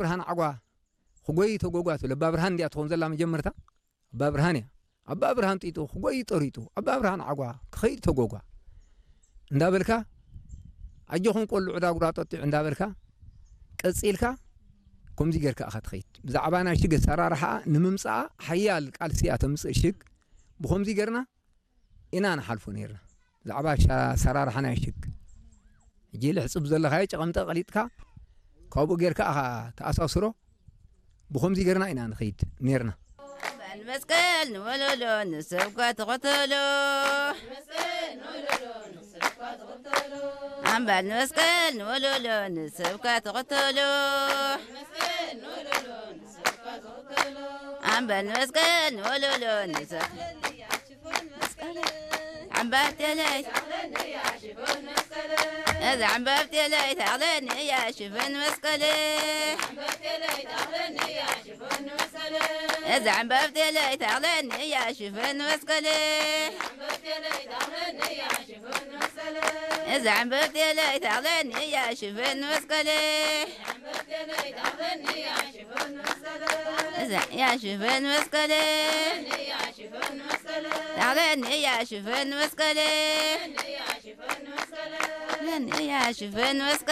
ብርሃን ዓጓ ክጎይ ተጎጓ ትብል ኣባ ብርሃን እንዲያ ትኾን ዘላ መጀመርታ ኣባ ብርሃን እያ። ኣባ ብርሃን ጢጡ ክጎይ ጠሪጡ ኣባ ብርሃን ዓጓ ክኸይድ ተጎጓ እንዳበልካ ኣጆኹም ቆልዑ ዳጉራ ጠጢዑ እንዳበልካ ቀጺልካ ከምዚ ጌርካ ኢኻ ትኸይድ። ብዛዕባ ናይ ሽግ ኣሰራርሓ ንምምጻኣ ሓያል ቃልሲ እያ ተምጽእ ሽግ። ብኸምዚ ጌርና ኢና ንሓልፎ ነይርና። ብዛዕባ ኣሰራርሓ ናይ ሽግ ሕጂ ልሕጽብ ዘለኻዮ ጨቐምጠ ቀሊጥካ ካብኡ ጌርካ ኢኻ ተኣሳስሮ። ብኸምዚ ጌርና ኢና ንኸይድ ነይርና። ኣምባል መስቀል ንወለሎ ንሰብካ ተኸተሎ። ኣምባል መስቀል ንወለሎ ንሰብካ ተኸተሎ። ኣምባል መስቀል ንወለሎ ንሰብ ዓምባብ ቴለይ እዛ ዓምባብ ቴለይ ታቕለኒ እያ ሽፈን መስቀል። እዛ ዓምባብ ቴለይ ታቕለኒ እያ ሽፈን መስቀል። እዛ ዓምባብ ቴለይ ታቕለኒ እያ ሽፈን መስቀል። እዛ እያ ሽፈን መስቀል። ታቕለኒ እያ ሽፈን መስቀል። እያ ሽፈን መስቀል።